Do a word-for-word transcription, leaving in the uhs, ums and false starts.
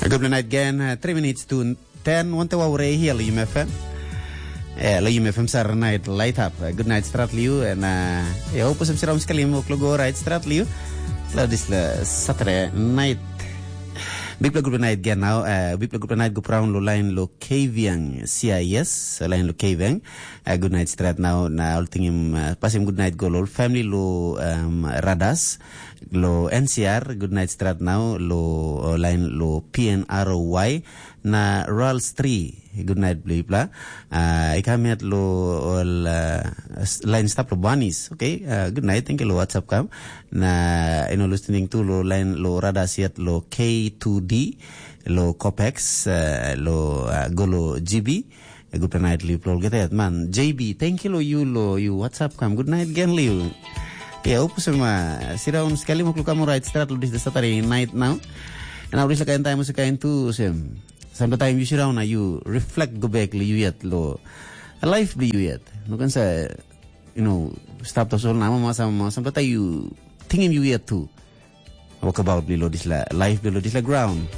Good night again. Uh, three minutes to ten. Wante wa ure hia lo U M F M. Eh, lo U M F M sar night light up. Uh, good night strat liu and uh, ya hope sem siram sekali mo klogo right strat liu. Lo this la Saturday night. Big play good night again now. Uh, big play good night go brown lo line lo Kaviang C I S, line lo Kaviang. Uh, good night strat now. Na all thing him uh, pass him good night go lo family lo um, Radas. Lo N C R, good night strat now, lo uh, line lo P N R O Y, na Rals three, good night bla bla. Uh, I come yet lo all uh, s- line stop lo Banis, okay? Uh, good night, thank you lo WhatsApp kam. Na you know listening to lo line lo Radas yet lo K two D, lo Copex, uh, lo uh, go lo G B. Good night, Liu Plol. Get that man. J B, thank you lo you lo you. WhatsApp kam. Good night again, Liu. Ya, upu sama. Siraun sekali mo klukam right start lo this the Saturday night now. And I wish like time was kind to sem. Sometimes you siraun na you reflect go back lo you yet lo. A life lo you yet. No can say you know stop the soul nama sama sama. Sometimes you thinking you yet too. Walk about lo this la life lo this la ground.